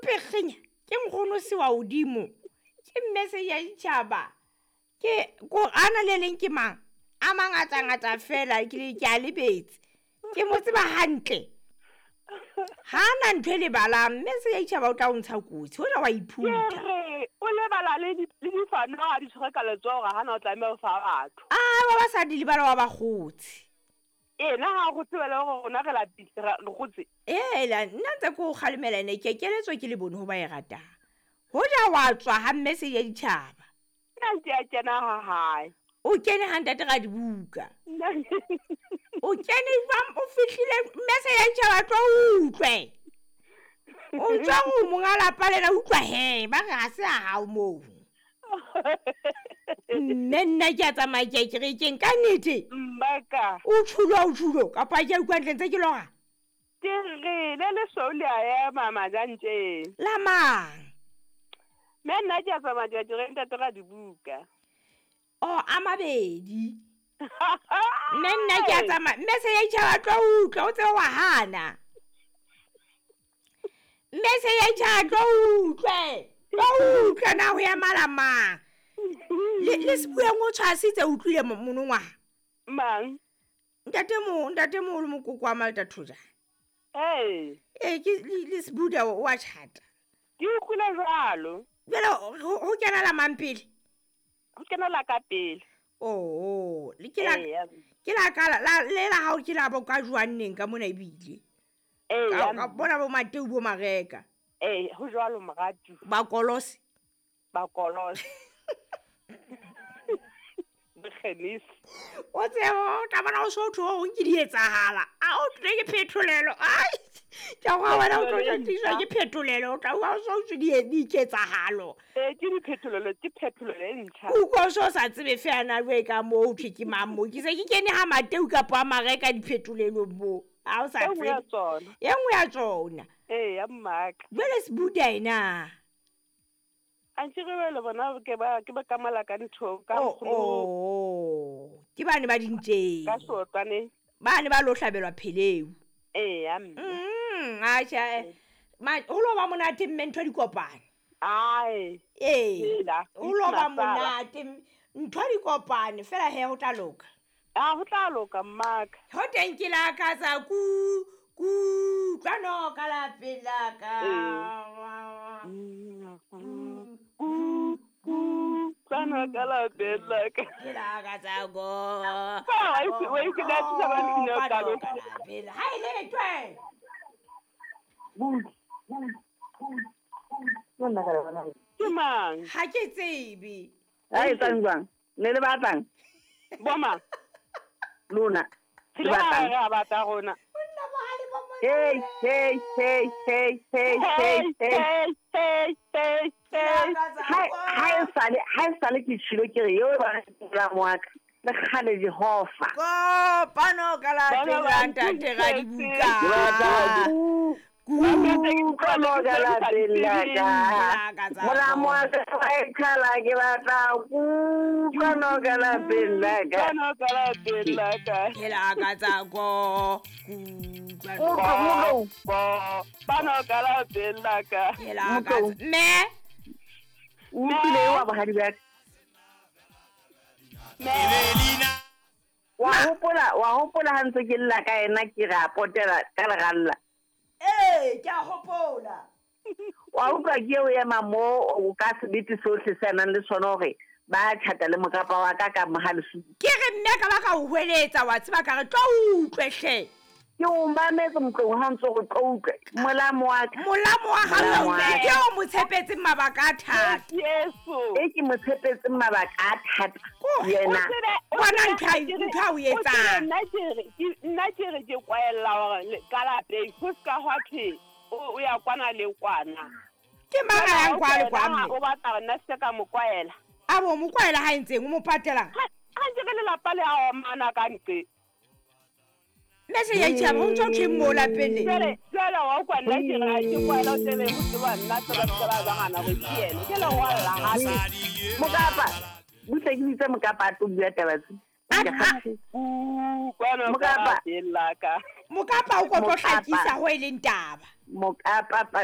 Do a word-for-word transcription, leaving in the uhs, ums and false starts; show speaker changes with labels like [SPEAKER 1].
[SPEAKER 1] Pekgenya ke nkgono se wa hodimo ke mme se ya ditjhaba ke ko ana le leng ke mang a mangatangata fela ke le ke a lebetse ke mo tseba hantle ha na ntho e lebalang mme se ya ditjhaba o tla o ntsha kotsi hoja wa iphutha
[SPEAKER 2] Ke re o lebala le di- le difano ha di tshwere ka letsoho hore hana o tlameha ho fa batho.
[SPEAKER 1] A ba ba sa di lebala wa bakgotsi.
[SPEAKER 2] Ena ha go tsebele hore rona re lapile re re kgotse.
[SPEAKER 1] Ela nna ntse ke o kgalemela ene ke keletso ke le bone ho ba e ratang hoja wa tswa ha mme se ya ditjhaba.
[SPEAKER 2] Nna ke a kena ha hae.
[SPEAKER 1] O kene ha ntate ra dibuka. O kene jwang o fihlile mme se ya ditjhaba tlo utlwe. O tswa ho monga lapa lena utlwa he ba re ha se a hao moo. Mme nna ke a tsamaya ke ya kerekeng ka nnete.
[SPEAKER 2] Mmaka.
[SPEAKER 1] O tshulo o tshulo kapa ke a utlwa ntle ntse ke lora.
[SPEAKER 2] Ke re le lesweu le a ema majantjeng.
[SPEAKER 1] La mang?
[SPEAKER 2] Mme nna ke a tsamaya ke ya kerekeng ntate ra dibuka.
[SPEAKER 1] O a mabedi. Mme nna ke a tsamaya mme se ya ditjhaba tlo utlwa o tsebe wa hana. Mme se ya ditjhaba tlo utlwe. Tlo utlwa na ho ya mala mang. Le le sebueng o tshwasitse o utlwile mo- monongwaha.
[SPEAKER 2] Mang?
[SPEAKER 1] Ntate mo ntate moholo mokoko wa Malta Thoja.
[SPEAKER 2] Ee.
[SPEAKER 1] Eh ke le le Sebuda o a tjhata.
[SPEAKER 2] Ke utlwile jwalo.
[SPEAKER 1] Jwale ho ho kena la mang pele?
[SPEAKER 2] Ho kena la ka pele.
[SPEAKER 1] Oh, le ke la
[SPEAKER 2] Eya.
[SPEAKER 1] ke la ka la le la hao ke la bo ka jwang neng ka mona ebile.
[SPEAKER 2] Eya.
[SPEAKER 1] Ka ka bona bo Mateu bo Mareka.
[SPEAKER 2] Ee, ho jwalo moratu.
[SPEAKER 1] Ba kolose.
[SPEAKER 2] Ba kolose. Bokgenisi.
[SPEAKER 1] O tsebe o tla bona o so thwe ho nke di etsahala. A o tle ke phetolelo. Ai. Ke a go wena o tlo tliswa ke phetolelo o tla o so tswe di di ketsahalo.
[SPEAKER 2] Ee, ke diphetolelo, ke phetolelo e ntjha.
[SPEAKER 1] O utlwa o so sa tsebe feela jwe ka moo ho thwe ke mang moo. Ke se ke kene ha Mateu kapa ha Mareka diphetolelong moo. Ha o sa
[SPEAKER 2] E nngwe ya
[SPEAKER 1] tsebe.
[SPEAKER 2] tsona.
[SPEAKER 1] E nngwe ya tsona.
[SPEAKER 2] Ee, ya mmaka.
[SPEAKER 1] Jwale Sebuda ena.
[SPEAKER 2] Antse re bele bona ke ba ke ba kamala ka ntho ka
[SPEAKER 1] Oh,
[SPEAKER 2] nkgono.
[SPEAKER 1] oh. Ke bane ba dintjeng.
[SPEAKER 2] Ka sotlwane.
[SPEAKER 1] Bane ba lo hlabelwa pheleu.
[SPEAKER 2] Ee, ya mme.
[SPEAKER 1] Mm, atjhe. Ma ho lo ba monate mme ntho di kopane.
[SPEAKER 2] Ai.
[SPEAKER 1] Ee.
[SPEAKER 2] Hela,
[SPEAKER 1] Ho lo ba
[SPEAKER 2] masala.
[SPEAKER 1] monate ntho di kopane fela he ho tla loka.
[SPEAKER 2] Ah, ho tla loka mmaka.
[SPEAKER 1] Ho teng ke la ka tsa ku ku tlwano ka lapeng la ka.
[SPEAKER 2] Ku ku tlwano ka lapeng la ka.
[SPEAKER 1] Ke la ka tsa go.
[SPEAKER 2] Ah, wa itse- wa itse ka thusa ba mmino
[SPEAKER 1] Kopano
[SPEAKER 2] ka lo.
[SPEAKER 1] ka lapeng la- Ha e le twe.
[SPEAKER 2] Ke mang?
[SPEAKER 1] Ha ke tsebe.
[SPEAKER 3] Ha e tsang jwang? Ne le batlang?
[SPEAKER 2] Bo mang?
[SPEAKER 3] Lona.
[SPEAKER 2] Re
[SPEAKER 3] Le batlang?
[SPEAKER 2] re a batla rona.
[SPEAKER 1] Monna bohale bo monna.
[SPEAKER 3] Hey, hey, hey, hey, hey, hey, hey.
[SPEAKER 2] Hey, hey, hey, hey.
[SPEAKER 3] Ha ha e sale, ha e sale ke tshilo ke re eo ba la moaka. Le kgale Jehova.
[SPEAKER 1] Kopano ka lapeng
[SPEAKER 2] Bana
[SPEAKER 1] la
[SPEAKER 2] ba
[SPEAKER 1] ntate ra dibuka.
[SPEAKER 3] Ke batla kutlwano ka lapeng la ka. Molamo wa ka wa e qhala ke batla kutlwano ka lapeng la ka.
[SPEAKER 2] Tlwano ka lapeng la ka.
[SPEAKER 1] Ke la ka tsa go kutlwano.
[SPEAKER 3] Utlwa, utlwa.
[SPEAKER 2] Kopano ka lapeng la ka.
[SPEAKER 1] Ke la ka tsa mme
[SPEAKER 3] O utlwile eo wa bohadi ba ka. Wa hopola, wa hopola ha ntse ke lla ka ena ke re a potela ka leralla.
[SPEAKER 1] Ee, ke a hopola.
[SPEAKER 3] Wa utlwa ke eo ema moo o ka sebete sohle se a nang le sona hore ba tjhata le mokapa wa ka ka mohalesu.
[SPEAKER 1] Ke re mme ka ba ka o hweletsa wa tseba ka re tlo utlwe hle.
[SPEAKER 3] Ke o mametse motlong ha ntse go tlo utlwe. Molamo wa ka.
[SPEAKER 1] Molamo wa hao
[SPEAKER 3] Molamo wa
[SPEAKER 1] mme
[SPEAKER 3] ka.
[SPEAKER 1] ke o mo tshepetseng mabaka a thata.
[SPEAKER 2] Yeso.
[SPEAKER 3] E ke mo tshepetseng mabaka a thata.
[SPEAKER 1] Ko-
[SPEAKER 3] Yena.
[SPEAKER 2] O tsebe- o
[SPEAKER 1] Bona
[SPEAKER 2] tsebe
[SPEAKER 1] ntho a-
[SPEAKER 2] ke re-
[SPEAKER 1] ntho a o
[SPEAKER 2] o tsebe
[SPEAKER 1] etsang.
[SPEAKER 2] nna ke re, ke- nna ke re ke kwaella hore le- ka lapeng ho ska hwa thwe o o ya kwana le kwana.
[SPEAKER 1] Ke mang a yang kwa le kwa
[SPEAKER 2] Wena
[SPEAKER 1] mme?
[SPEAKER 2] O batla hore nna se ka mo kwaela.
[SPEAKER 1] A bo mo kwaela ha e ntseng o mo patelang.
[SPEAKER 2] Ha ha ntse re lelapa le a omana ka nqe.
[SPEAKER 1] Mme se ya itjhaba ho ntso thweng moo lapeng le.
[SPEAKER 2] Jwale jwale wa utlwa nna ke re ha ke kwaela o tsebe ho tseba nna tseba tseba ba ngwana hore ke yena. Ke le rwalla hape.
[SPEAKER 3] Mokapa. Butle ke bitse mokapa a tlo bua taba tse.
[SPEAKER 1] A-
[SPEAKER 3] Ke
[SPEAKER 1] a-
[SPEAKER 3] kgathetse.
[SPEAKER 2] Kutlwano ka
[SPEAKER 3] Mokapa.
[SPEAKER 2] lapeng la ka.
[SPEAKER 1] Mokapa o ko tlo
[SPEAKER 3] Mokapa.
[SPEAKER 1] hlakisa ho e leng taba.
[SPEAKER 3] Mokapa